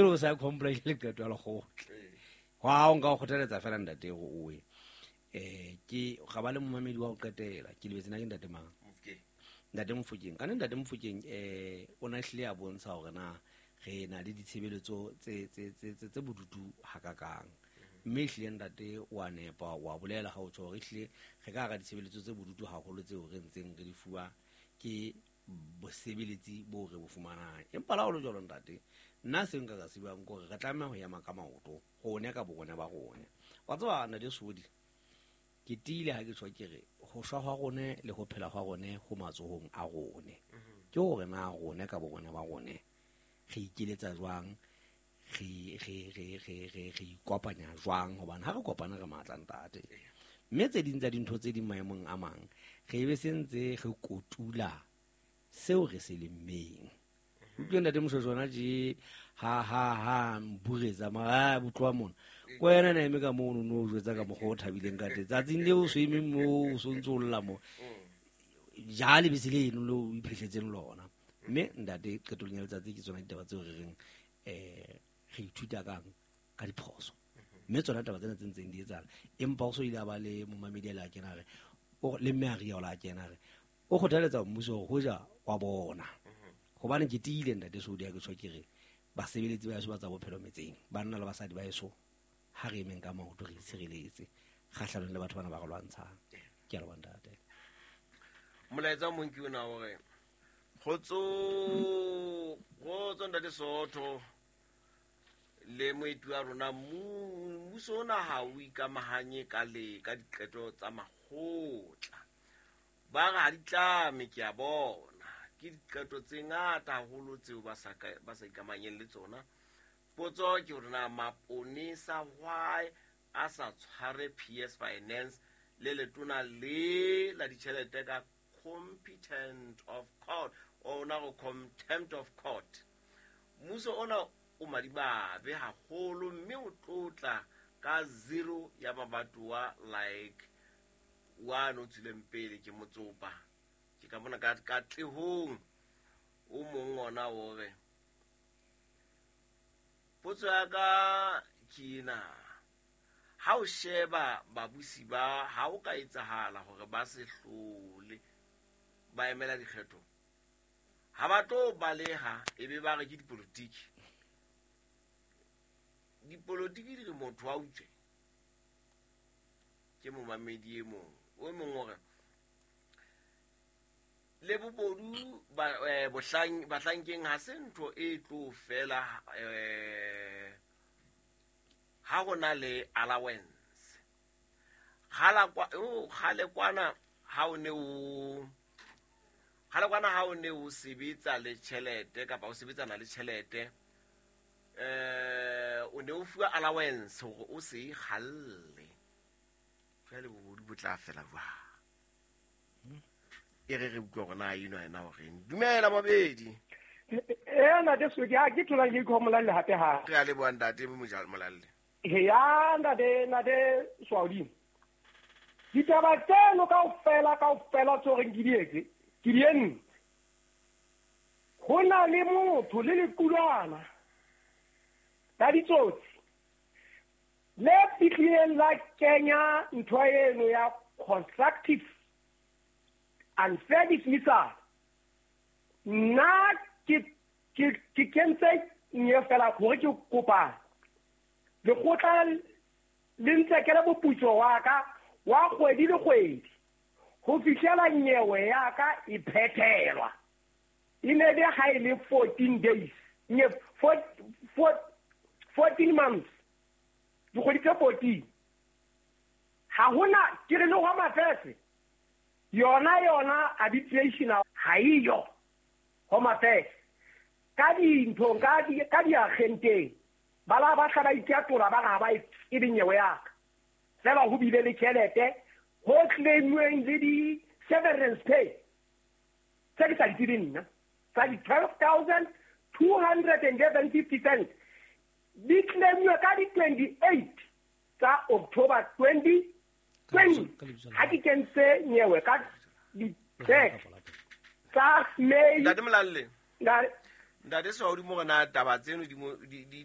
O sa comply le qeto ya lekgotla. Wa o nka o kgothaletsa fela ntate go oe. Ke ga ba le momamedi wa go qetela ke lebetse na ke ntate mang? Ntate Mofokeng. Ka ne ntate Mofokeng o na hlile a bontsha hore na re na le ditshebeletso tse bodutu hakakang. Mme ehlile ntate wa nepa wa bolela ha o tjho hore ehlile re ka hara ditshebeletso tse bodutu haholo tseo re ntseng re di fuwa ke bosebeletsi bo re bo fumanang. Empa la ho le jwalo ntate, nna seo nka ka se buang ke hore re tlameha ho ema ka maoto rone ka borona ba rone. Wa tseba ntate Sodi, ke tiile ha ke tjho ke re ho shwa hwa rone le ho phela hwa rone ho matsohong a rone. Ke hore na rone ka borona ba rone re ikeletsa jwang, re ikopanya jwang, hobane ha re kopana re matla ntate. Mme tse ding tsa dintho tse ding maemong a mang re be se ntse re kotula seo re se lemmeng. Utlwe ntate Moshweshwe hona tje ha mburetsa mara botloa mona. Ko wena na eme ka mono no jwetsa ka mokgwa o thabileng ka teng. Tsatsing leo o so eme moo o so ntso o lla mo. Ja lebese leno leo o iphehletseng lona. Mme ntate qetellong ya letsatsi ke tsona ditaba tseo re reng re ithuta kang ka diphoso. Mme tsona taba tsena tse ntseng di etsahala. Empa o so ile a ba le momamedi a le a kena re le mme a ria o la kena re o kgothaletsa mmuso hore hoja wa bona. Hobane ke tiile ntate Sodi ha ke tjho ke re basebeletsi ba heso ba tsa bophelo metseng, banna le basadi ba heso, ha re emeng ka maoto re itshireletse kgahlanong le batho bana ba re lwantshang. Ke a leboha ntate. Molaetsa o mong ke ona hore kgotso kgotso ntate Sootho le moeti wa rona, mmuso ona ha o ikamahanye ka le ka diqeto tsa makgotla. Ba re ha di tlame, ke a bona. Ke diqeto tse ngata haholo tseo ba sa ikamahanyeng le tsona. Potso ke hore na maponesa why a sa tshware PS Finance le letona le la ditjhelete ka competent of court, ona go contempt of court. Mmuso ona o madimabe haholo mme o tlotla ka zero ya mabatowa like wa no tswileng pele ke motsopa. Ke ka bona ka katlehong o mong ona o re potso ya ka ke ena, ha o sheba babusi ba ha o ka etsahala hore ba se hlole ba emela dikgetho, ha ba tlo baleha e be ba re ke dipolotiki. Dipolotiki di re motho a utswe. Ke momamedi e mong o mong o re le bobodu bahlankeng ha se ntho e tlo fela ha ho na le allowance. Kgale kwana ha o ne o kgale kwana ha o ne o sebetsa le tjhelete kapa o sebetsana le tjhelete, o ne o fuwa allowance hore o se ikgalle. Jwale bobodu bo tla fela jwang? E re re utlwe hore na eno yena o reng. Dumela mabedi. Ntate Sodi, ha ke tholang ke ikho Molalle hape ha. Re a leboha ntate Molalle. Ya ntate Swaudimo. Ditaba tseno kaofela kaofela tseo reng ke di etse, ke di entse. Ho na le motho le lequlwana la ditsotsi le fihlileng la kenya ntho eno ya constructive unfair dismissal. Nna ke kentse nye fela hore ke kopa lekgotla le ntsekele moputso wa ka wa kgwedi le kgwedi ho fihlela nyewe ya ka e phethelwa. E ne be ha e le 14 days, nye 14 months, dikgwedi tse 14. Ha hona ke re le hwa mafese yona arbitration ha eyo Home Affairs ka dinthong ka diagenteng ba la ba tla ba ikatola ba ga ba e be nyewe ya ka fela ho bile le tjhelete ho claimweng le di severance pay tse ke sa di tsebeng nna tsa di 12,211.50 cents di claimwe ka di 28 tsa October 2020 ha ke kentse nyewe ka di tsa May. Ntate Molalle, ntate Swaudi mo rena taba tseno di